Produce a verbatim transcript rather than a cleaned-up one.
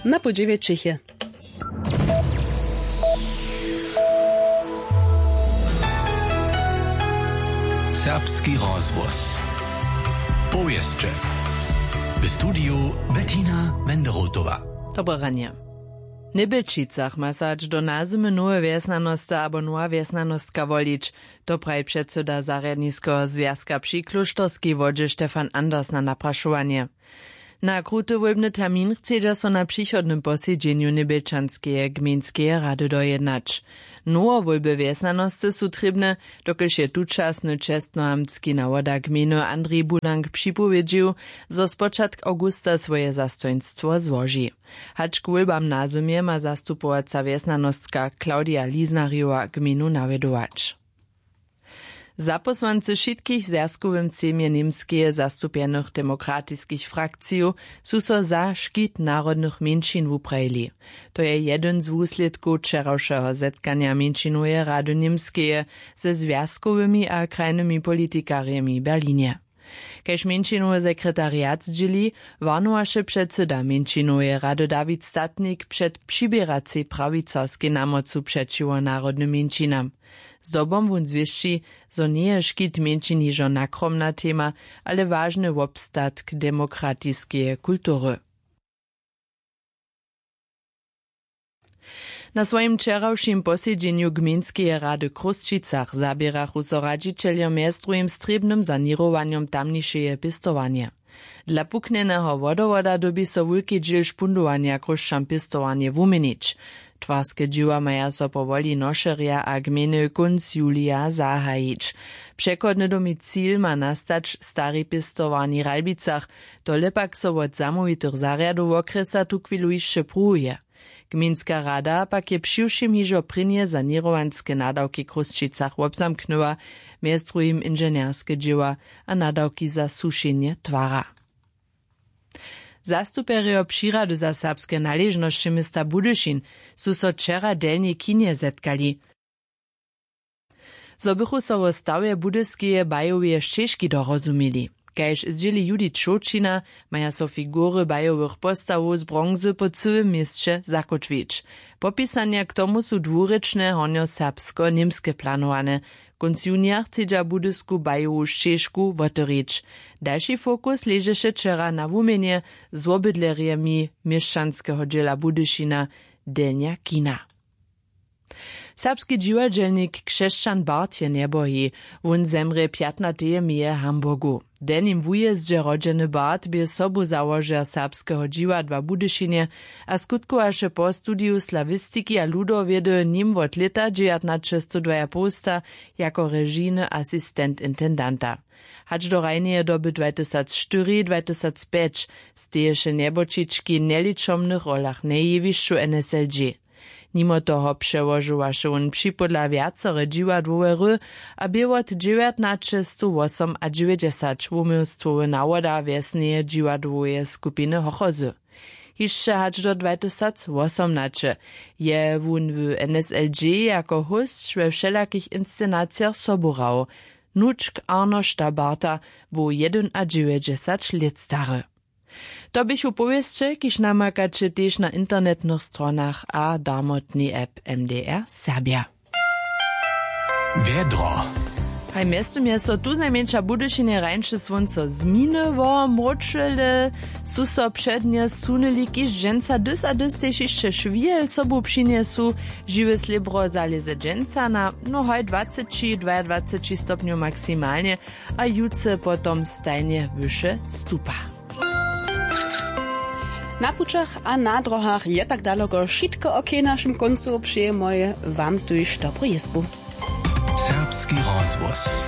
Na pół dźewjećich je. Serbski rozhłos. Powěsće. W studiju Bettina Menderotowa. Dobre ranje. W Njebjelčicach ma so hač do nazymy nowe wjesnjanosce abo nowa wjesnjanostka wolić. To praji předsyda zarjadniskeho zwjazka při klóšterskej wodźe Stefan Anders na naprašowanje. Na kruty wólbny termin chcedźa so na přichodnym posedźenju Njebjelčanskeje gmejnskeje rady dojednać. Nowowólby wjesnjanoscy su trěbne, dokelž je tučasny čestnohamtski nawoda gmejny Andrej Bulank připowědźił, zo spočatk awgusta swoje zastojnstwo złoži. Hač k wólbam na zymje ma zastupowaca wjesnjanostka Claudia Liznarjowa gmejnu nawjedować. Zapósłancy wšitkich w zwjazkowym sejmje Němskeje zastupjenych demokratiskich frakcijow su so za škit narodnych mjeńšin wuprajili. To je jedyn z wuslědkow wčerawšeho zetkanja mjeńšinoweje rady Němskeje ze zwjazkowymi a krajnymi politikarjemi w Berlinje. Kaž mjeńšinowy sekretariat zdźěli, warnowaše předsyda mjeńšinoweje rady Dawid Statnik před přiběracej prawicarskej namocu přećiwo narodnym mjeńšinam. Zdobom wón zwěsći, zo njeje škit mjeńšin hižo nakromna tema, ale wažny wobstatk demokratiskeje kultury. Na swojim wčerawšim posedźenju gmejnskeje rady w Chrósćicach zaběrachu so radźićeljo mjez druhim z trěbnym saněrowanjom tamnišeje pěstowanje. Dla puknjeneho wodowoda dyrbi so wulki dźěl špundowanja chrósćan pěstowarnje wuměnić. Twarske dźěła maja so po woli nošerja a gmejny kónc julija zahajić. Přechodny domicil ma nastać w starej pěstowarni w Ralbicach. Tole pak so wot zamołwitych zarjadow wokrjesa tuchwilu hišće pruwuje. Gmejnska rada pak je přiwšěm hižo prěnje saněrowanske nadawki w Chrósćicach wobzamknyła, mjez druhim inženjerske dźěła a nadawki za sušenje twara. Zastupjerjo přirady za serbske naležnosće města Budyšin su so wčera w Delnjej Kinje zetkali. Zo bychu so wo stawje budyskeje bajoweje šćežki dorozumili. Kaž zdźěli Judith Šołćina, maja so figury bajowych postawow z bronzy po cyłym měsće zakótwić. Popisanja k tomu su dwurěčne hornjoserbsko-němske planowane. Kónc junija chcedźa budysku bajowu šćežku wotewrić. Dalši fokus ležeše wčera na wuměnje z wobydlerjemi měšćanskeho dźěla Budyšina, Delnja Kina. Serbski dźiwadźelnik Křesćan Bart je njebohi. Wón zemrě pjatnateje meje w Hamburgu. W delnim wujězdźe rodźeny Bart bě sobuzałožer serbskeho dźiwadła w Budyšinje a skutkowaše po studiju slawistiki a ludowědy, nim wot lěta dźewjatnaćestodwajapołsta jako režijny asistent intendanta. Hač do hrajneje doby dwatysacštyri dwatysacpjeć steješe njeboćički w njeličomnych rolach na jewišću N S L G. Nimo toho přełožowaše wón připódla wjacore dźiwadłowe hry a bě wot dźewjatnaćestowwosomadźewjećdźesat wuměłstwowy nawoda wjesneje dźiwadłoweje skupiny Hochozy. Hišće hač do dwatysacwosomnaće je wón w N S L G jako hósć we wšelakich inscenacijach sobu hrał. Wnučk Arnošta Barta był jedynadźewjećdźesat lět stary. To běchu powěsće, kiž namakaće tež na internetnych stronach a darmotnej app M D R Serbja. Wjedro. Haj, mjeztym je so tu znajmjeńša w Budyšinje rańše słónco zminyło, mróčele su so přednje sunyli, kiž dźensa dys a dys tež hišće šwihel sobu přinjesu. Žiwe slěbro zalěze dźensa na, no haj, dwaceći, dwajadwaceći stopnjow maksimalnje a jutře potom stajnje wyše stupa. Na pućach a na dróhach je tak daloko wšitko. K našim kóncu přejemoj wam tuž dobru jězbu. Serbski rozhłos.